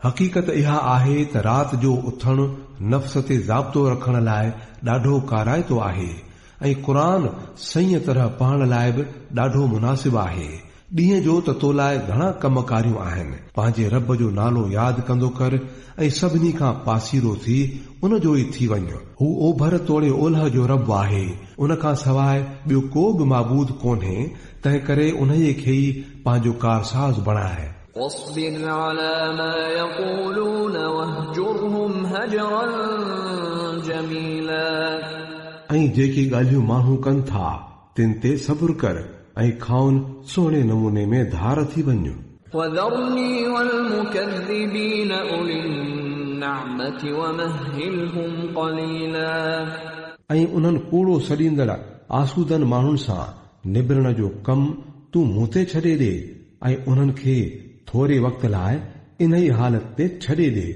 حقيقت اها آهي ته رات جو اٿڻ نفس تي ضابطو رکڻ لاء ڏاڍو ڪارائتو آهي ۽ قرآن صحيح طرح پڙهڻ لاء به ڏاڍو مناسب آهي. ڏينهن جو ته تو لاء گهڻا ڪم ڪاريون آهن. پنهنجي رب جو نالو ياد ڪندو ڪر ۽ سڀني کان پاسيرو ٿي ان جو ئي ٿي وڃ. هو اوڀر توڙي اولهه جو رب آهي، ان کان سواء ٻيو ڪو به معبود ڪونهي، تنهنڪري انهيء کي ئي پنهنجو ڪارساز بڻاء. واصبر علي ما يقولون واهجرهم هجرا جميلا. ۽ جيڪي ڳالهيون ماڻهو ڪن ٿا، تن تي صبر ڪر ۽ کانئن سهڻي نموني ۾ ڌار ٿي وڃ. وذرني والمڪذبين اولي النعمة ومهلهم قليلا. ۽ انهن ڪوڙو سڏيندڙ آسودن ماڻهن سان نبرڻ جو ڪم تون مون تي ڇڏي ڏي ۽ انهن کي ٿوري وقت لاء انهيء حالت تي ڇڏي ڏي.